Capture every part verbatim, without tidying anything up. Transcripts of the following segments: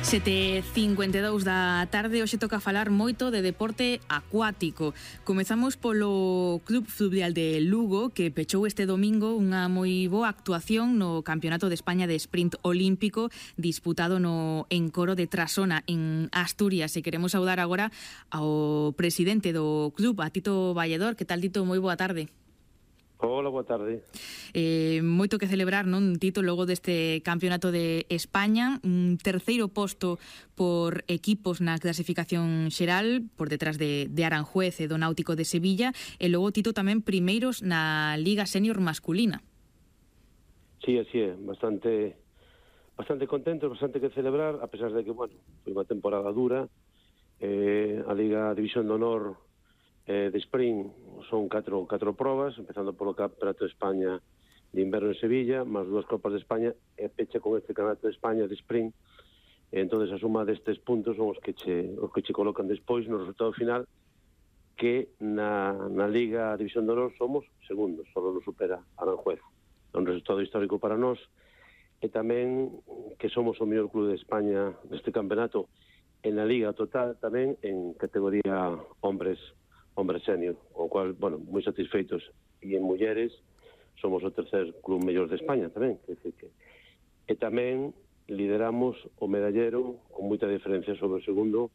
sete e cincuenta e dous da tarde, hoxe toca falar moito de deporte acuático. Comezamos polo Club Fluvial de Lugo, que pechou este domingo unha moi boa actuación no Campeonato de España de Sprint Olímpico disputado no Encoro de Trasona, en Asturias. E queremos saudar agora ao presidente do club, a Tito Valledor. Que tal, Tito? Moi boa tarde. Hola, boa tarde. Eh, moito que celebrar, non, Tito, logo deste Campeonato de España, un terceiro posto por equipos na clasificación xeral, por detrás de, de Aranjuez e do Náutico de Sevilla, e logo, Tito, tamén primeiros na Liga Senior masculina. Sí, así é, bastante bastante contentos, bastante que celebrar, a pesar de que, bueno, foi unha temporada dura. Eh, a Liga División de Honor eh, de Sprint son catro, catro probas, empezando polo Campeonato de España de Inverno en Sevilla, máis dúas Copas de España, e pecha con este Campeonato de España de Sprint. E entón, a suma destes puntos son os que che, os que che colocan despois no resultado final, que na, na Liga División de Honor somos segundos, só nos supera Aranjuez. É un resultado histórico para nós, e tamén que somos o mellor club de España neste campeonato, en la Liga total tamén en categoría hombres hombres senior, o cual, bueno, moi satisfeitos. E en mulleres somos o tercer club mellor de España tamén, que decir que e tamén lideramos o medallero con moita diferencia sobre o segundo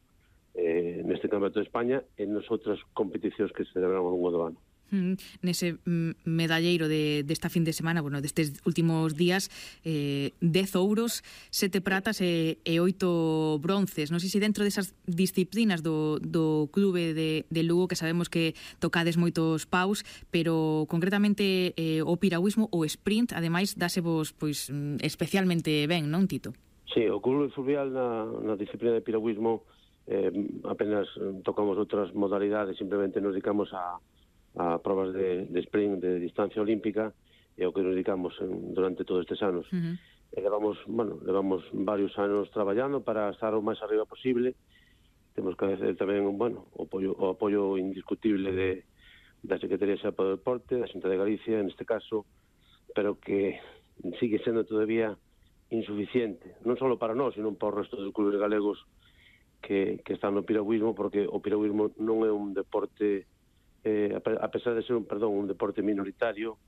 eh, neste Campeonato de España e nas outras competicións que se celebraron ao longo do ano. Mm, nese mm, medalleiro de, desta fin de semana, bueno, destes últimos días, eh, dez ouros, sete pratas e, e oito bronces. Non sei se dentro desas disciplinas do, do clube de, de Lugo, que sabemos que tocades moitos paus, pero concretamente eh, o piragüismo, o sprint, ademais, dásevos pois, especialmente ben, non, Tito? Sí, o clube fluvial na, na disciplina de piragüismo eh, apenas tocamos outras modalidades, simplemente nos dedicamos a a probas de, de sprint de distancia olímpica, e o que nos dedicamos en, durante todos estes anos. Uh-huh. E levamos, bueno, levamos varios anos traballando para estar o máis arriba posible. Temos que agradecer tamén, bueno, o apoio, o apoio indiscutible de, da Secretaría de Xapa do Deporte, da Xunta de Galicia, neste caso, pero que sigue sendo todavía insuficiente, non só para nós, sino para o resto dos clubes galegos que, que están no piragüismo, porque o piragüismo non é un deporte Eh, a pesar de ser un, perdón, un deporte minoritario,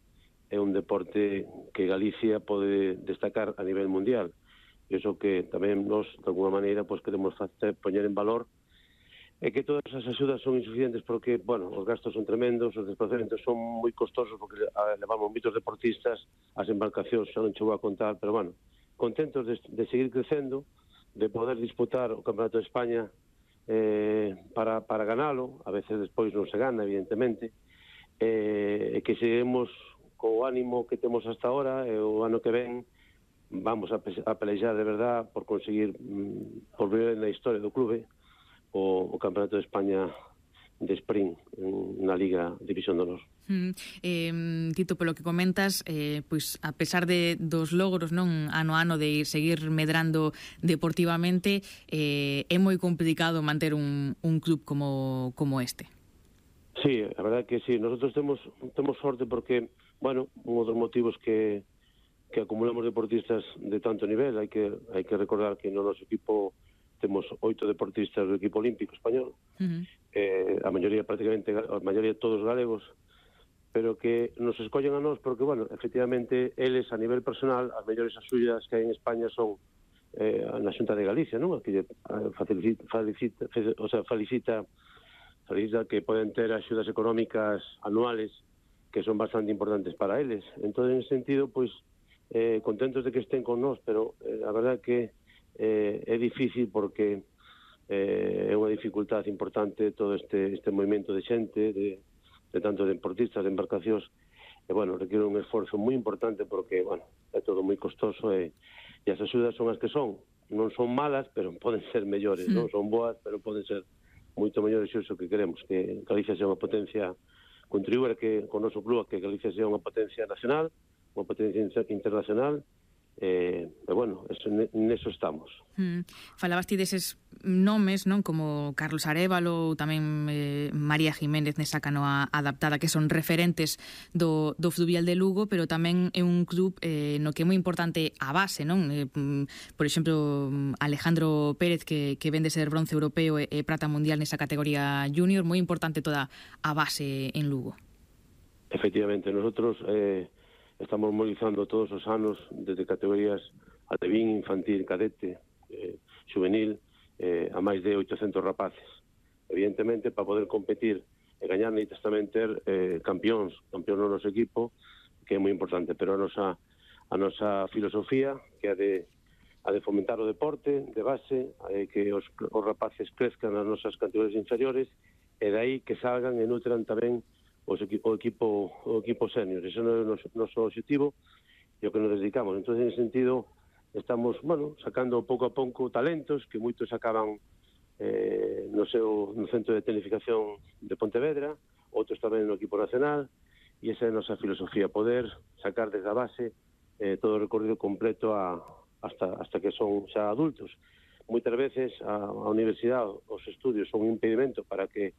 é un deporte que Galicia pode destacar a nivel mundial. E iso que tamén nos, de alguna maneira, pues, queremos facer, poñer en valor, é que todas as axudas son insuficientes porque, bueno, os gastos son tremendos, os desplazamentos son moi costosos porque a, levamos moitos deportistas, as embarcacións xa non chegou a contar, pero, bueno, contentos de, de seguir crecendo, de poder disputar o Campeonato de España Eh, para, para ganalo, a veces despois non se gana, evidentemente, e eh, que seguimos co ánimo que temos hasta ahora, e o ano que ven vamos a, a pelejar de verdad por conseguir, mm, por ver na historia do clube o, o Campeonato de España de Sprint na Liga División de Honor. Mm, eh, Tito, polo que comentas, eh, pois a pesar de dos logros, non, ano a ano de seguir medrando deportivamente, eh, é moi complicado manter un, un club como, como este. Sí, a verdade que sí, nosotros temos temos sorte porque, bueno, un dos motivos que que acumulamos deportistas de tanto nivel, hai que hai que recordar que no noso equipo temos oito deportistas do equipo olímpico español, uh-huh. eh, a maioría prácticamente, a maioría todos galegos, pero que nos escollen a nós porque, bueno, efectivamente, eles a nivel personal, as mellores axudas que hai en España son eh, na Xunta de Galicia, non? Que facilita, facilita, o sea, felicita, felicita que poden ter axudas económicas anuales que son bastante importantes para eles. Entón, en ese sentido, pois, eh, contentos de que estén con nós, pero eh, a verdade que eh, é difícil porque eh, é unha dificultade importante todo este, este movimento de xente, de, de tanto de deportistas, de embarcacións, e, bueno, requiere un esforzo moi importante porque, bueno, é todo moi costoso e, e as axudas son as que son. Non son malas, pero poden ser mellores, mm. non? Son boas, pero poden ser moito mellores, iso que queremos, que Galicia sea unha potencia, contribuir que con o noso club que Galicia sea unha potencia nacional, unha potencia internacional, e, e bueno, eso, neso estamos. Mm. Falabas ti deses nomes, non, como Carlos Arévalo ou tamén eh, María Jiménez nesa canoa adaptada, que son referentes do, do fluvial de Lugo, pero tamén é un club eh, no que é moi importante a base, non? Eh, por exemplo, Alejandro Pérez, que, que vende ser bronce europeo e, e prata mundial nesa categoría junior, moi importante toda a base en Lugo. Efectivamente, nosotros eh, estamos movilizando todos os anos desde categorías alevín, infantil, cadete, eh, juvenil, eh, a máis de oitocentos rapaces. Evidentemente, para poder competir e gañar, necesitas tamén ter eh, campións, campións no noso equipo, que é moi importante, pero a nosa, a nosa filosofía, que é a de, a de fomentar o deporte de base, eh, que os, os rapaces crezcan nas nosas categorías inferiores, e dai que salgan e nutran tamén os equi, o equipo o equipo senior. Ese non é o noso, noso objetivo e o que nos dedicamos. Entón, en ese sentido, estamos, bueno, sacando pouco a pouco talentos que moitos acaban eh, no seu no centro de tecnificación de Pontevedra, outros tamén no equipo nacional, e esa é a nosa filosofía, poder sacar desde a base eh, todo o recorrido completo a, hasta, hasta que son xa adultos. Moitas veces a, a universidade, os estudios son un impedimento para que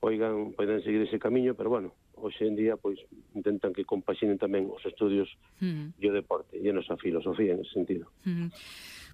oigan, poden seguir ese camiño, pero bueno, hoxe en día pois intentan que compaxinen tamén os estudios mm. e o deporte, e a nosa filosofía en ese sentido. Mm.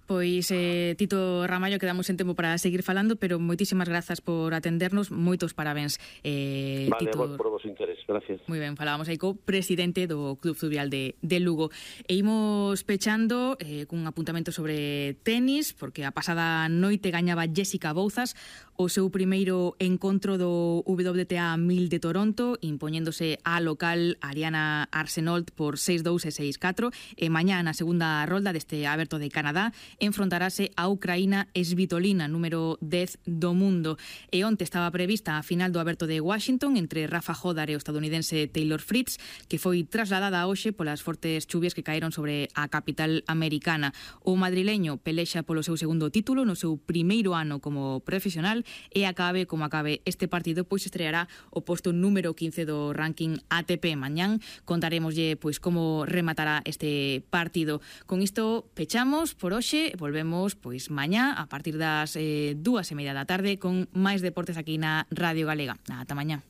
Pois, eh, Tito Ramallo, quedamos en tempo para seguir falando, pero moitísimas grazas por atendernos, moitos parabéns. Eh, vale, Tito... por vos interés, gracias. Moi ben, falábamos aí co presidente do Club Fluvial de, de Lugo. E imos pechando eh, cun apuntamento sobre tenis, porque a pasada noite gañaba Jessica Bouzas o seu primeiro encontro do W T A mil de Toronto, impoñéndose a local Ariana Arsenault por seis dous e seis catro, e mañá na segunda rolda deste Aberto de Canadá enfrontarase a Ucraína Svitolina, número dez do mundo. E onte estaba prevista a final do Aberto de Washington entre Rafa Hodar e o estadounidense Taylor Fritz, que foi trasladada hoxe polas fortes chuvias que caeron sobre a capital americana. O madrileño pelexa polo seu segundo título no seu primeiro ano como profesional, e acabe como acabe este partido, pois estreará o posto número quince do ranking A T P. Mañán contaremoslle pois como rematará este partido. Con isto pechamos por hoxe. Volvemos pois mañá a partir das eh, dúas e media da tarde con máis deportes aquí na Radio Galega. Ata mañá.